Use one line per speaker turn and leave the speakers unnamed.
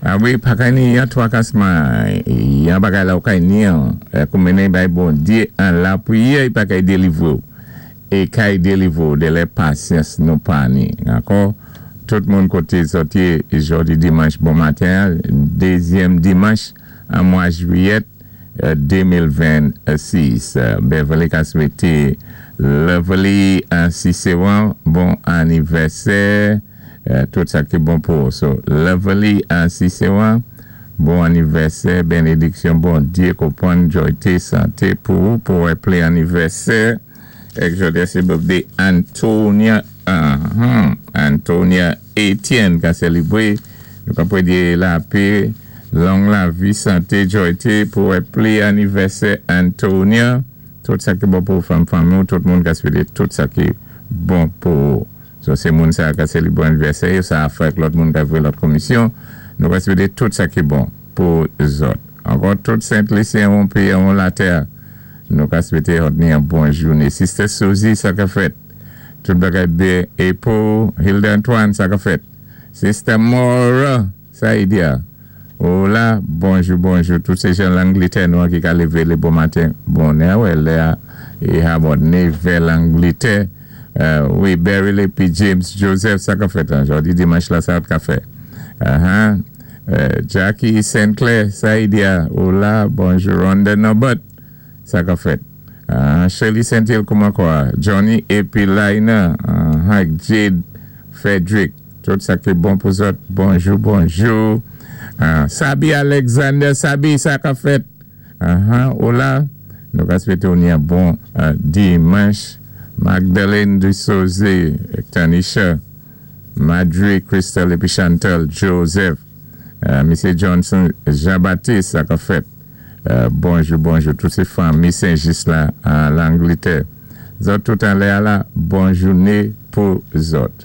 A wi, pa kay ni yon twakasman, yon bagay la ou kay ni an, kou mennen bay Bondyé an lapriyè, i pa kay délivwé ou. É kay délivwé ou dè lè pasyans nou pa ni. Ankò, tout moun koté zòt yé jòdi dimanch bon maten, dézyèm dimanch an mwa jwiyèt 2026. Beverly ka swété Lovely Cicéron bon anivèsè. Tout sa ki bon pou ou. So, Lovely Cicéron, bon anivèsè, bénédiksyon Bondyé, konpwann, jòyté, santé pou ou, pou wè plen anivèsè. Èk jòdi sé birthday Antonia, Antonia Etienne ka sélibwé. Nou ka pwédé lapé, long lavi, santé, jòyté pou wè plen anivèsè Antonia. Tout sa ki bon pou fanm fanmi ou, tout moun ka swété tout sa ki bon pou ou. So sé moun sa ka sélibwé anivèsè yo, sa a fè ak lòt moun ka vwé lòt komisyon. Nou ka swété tout sa ki bon pou zòt. Ankò tout Sent Lisyen on péyi on latè, nou ka swété zòt ni yon bon jouné. Sister Suzy, sa ka fèt? Tout bagay byen é pou Hilda Antoine, sa ka fèt? Sister Mora, sa i di a? Ola, bonjou, bonjou. Tout sé jan Langlitè nou an ki ka lévé lé bon maten bonè, wè lè a é habòd nevè Langlitè. Wi, Beryl épi James Joseph, sa ka fèt an? Jòdi dimanch la, sa ka fè? Aha. Jackie Sinclair, sa i di a? Ola, bonjou. Rhonda Norbert, sa ka fèt? Shirley Saint-Hill, kouman kwa? Johnny épi Laina, aha, Jade Frederick. Tout sa ki bon pou zòt. Bonjou, bonjou. Sabi Alexander, Sabi, sa ka fèt? Aha, ola. Nou ka swété ou ni yon bon dimanch. Magdalene Dussauze, Tanisha, Madry, Crystal épi Chantal Joseph. Misye Johnson Jean-Baptiste, sa ka fèt? Bonjou, bonjou. Tout sé fanmi Saint-Just la an Langlitè. Zòt tout anlè a la, bon jouné pou zòt.